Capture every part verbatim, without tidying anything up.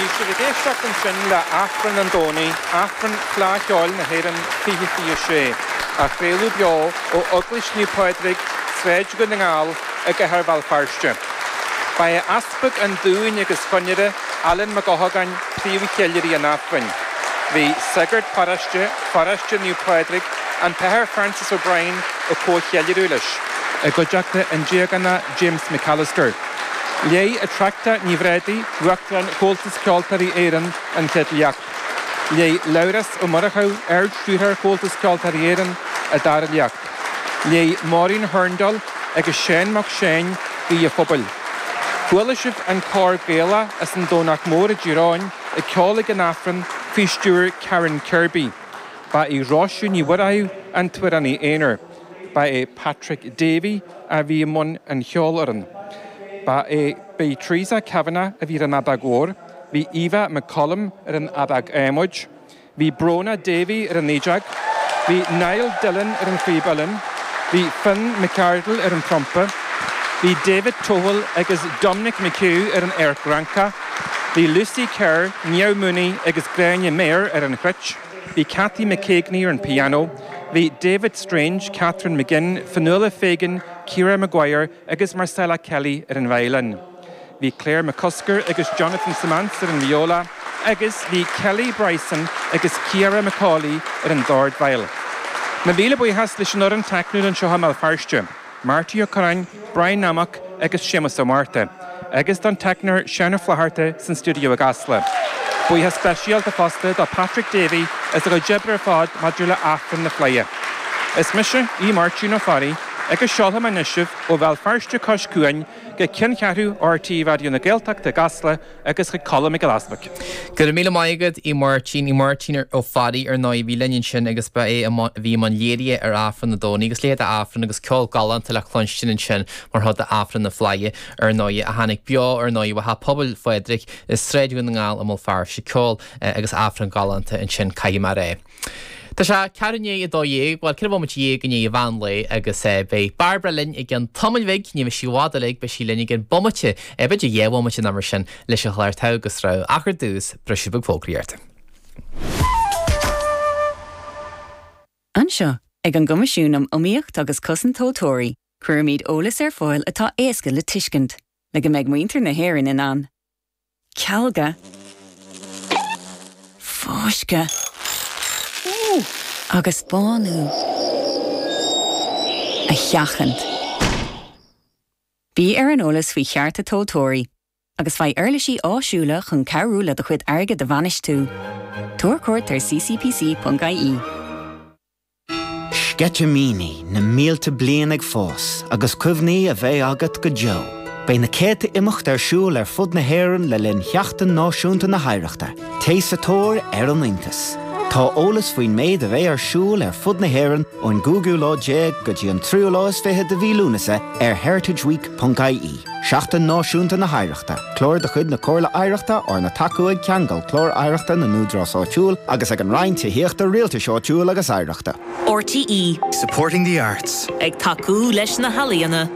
Bhí sibh ag éisteacht ansin le Aifreann an Domhnaigh, Aifreann Fleadh Cheoil na hÉireann fiche fiche sé, á chraoladh beo ó Eaglais Naomh Pádraig, Sráid Dhún na nGall i gcathair Bhéal Feirste. Ba é Easpag an Dúin agus Chonaire, Alan Mac Eochagáin, príomhcheiliúraí an Aifrinn. Bhí sagart paróiste, Pharóiste Naomh Pádraig, an tAthair Francis O'Brien ag comhcheiliúradh leis, i gcuideachta an Diagana James McAllister. Léigh Attracta Ní Bhréadaí, Uachtarán Chomhaltas Ceoltóirí Éireann an chéad léacht. Léigh Labhrás Ó Murchú, Ard-Stiúrthóir Chomhaltas Ceoltóirí Éireann, an dara léacht. Léigh Maureen Hurndall agus Seán Mac Seáin Guí an Phobail. Chuala sibh an cór Gaelach as an Domhnach Mór i dTír Eoghain ag ceol ag an Aifreann faoi stiúir Karen Kirby. Ba í Róise Ní Mhuireadhaigh an t-amhránaí aonair. Ba é Patrick Davey a bhí i mbun an cheolfhoireann. Ba é b'í Teresa Kavanagh a bhí ar an fheadóg mhór, bhí Eva McCollum ar an fheadóg adhmaid, bhí Brona Davey ar an fhídeog, bhí Niall Dillon ar an phíb uilleann, bhí Finn McArdle ar an trumpa, bhí David Tohill agus Dominic McHugh ar an arc Fhrancach, bhí Lucy Kerr, Niamh Mooney agus Gráinne Mayer ar an chruit, bhí Cathy McKeagney ar an piano, bhí David Strange, Catherine McGinn, Fionnuala Fagan, Ciara Maguire agus Marcella Kelly ar an veidhlin. Bhí Claire McCusker agus Jonathan Simons ar an viola, agus bhí Kelly Bryson agus Ciara McCauley ar an dordveidhil. Mo mhíle buíochas leis an fhoireann teicniúil anseo i mBéal Feirste, Marty Ó Curráin, Brian Nammock agus Séamus Ó Márta, agus don teicneoir Seán Ó Flatharta san stiúideo i gCasla. Buíochas speisialta fosta do Patrick Davey as a chuid oibre ar fad maidir le Aifreann na Fleidhe. Is mise Aodh Máirtín Ó Fearraigh agus seolfaidh mé anois sibh ó Bhéal Feirste cois cuain go ceanncheathrú RTÉ Raidió na Gaeltachta i gCasla agus chuig Colm Mac Giolla Easbuig. Go raibh míle maith agat Aodh Máirtín Aodh Máirtín Ó Fearraigh ar ndóigh bhí linn ansin agus ba é bhí i mbun léirithe ar Aifreann an Domhnaigh agus léithe Aifreann agus ceol galánta le cluinstin ansin mar chuid d'Aifreann na Fleidhe ar ndóigh a tháinig beo ar ndóigh ó Theach Pobail Phádraig i Sráid Dhún na nGall i mBéal Feirste ceol agus Aifreann galánta ansin caithfidh mé a rá. Tá sé ceathrú i ndiaidh a dó dhéag, bhuel ceithre bhomaite dhéag i ndiaidh an mheán lae agus beidh Bairbre linn i gceann tamaill bhig, ní bheidh sí i bhfad uilig, beidh sí linn i gceann bomaite, b'fhéidir dhá bhomaite nó mar sin leis an chlár Togha agus Rogha ach ar dtús, briseadh beag fógraíochta. Anseo, ag an gCoimisiún um Iomaíocht agus Cosaint Tomhaltóirí, cuirimid eolas ar fáil atá éasca le tuiscint, le go mbeidh muintir na hÉireann in ann cealga, fáisceadh agus bánú a sheachaint. Bí ar an eolas faoi chearta tomhaltóirí agus faigh uirlisí áisiúla chun cabhrú le do chuid airgid a bhainistiú. Tabhair cuairt ar ccpc.ie. Sceitimíní na mílte bliain ag fás agus cuimhní a bheidh agat go deo. Beidh na céadta imeacht ar siúl ar fud na hÉireann le linn Sheachtain Náisiúnta na hOidhreachta, Téigh sa tóir ar an iontas. Tá eolas faoin méid a bheidh ar siúl ar fud na hÉireann ón gcúigiú lá déag go dtí an tríú lá is fiche de mhí Lúnasa ar heritageweek.ie. Seachtain Náisiúnta na hOidhreachta, clár de chuid na Comhairle Oidhreachta arna tacú ag Ceangal Clár Oidhreachta na nÚdarás Áitiúil agus ag an Roinn Tithíochta Rialtais Áitiúil agus Oidhreachta. RTÉ Supporting the arts. Ag tacú leis na healaíona.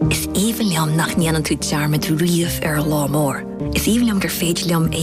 Is aoibhinn liom nach ndéanann tú dearmad riamh ar an lá mór. Is aoibhinn liom gur féidir liom é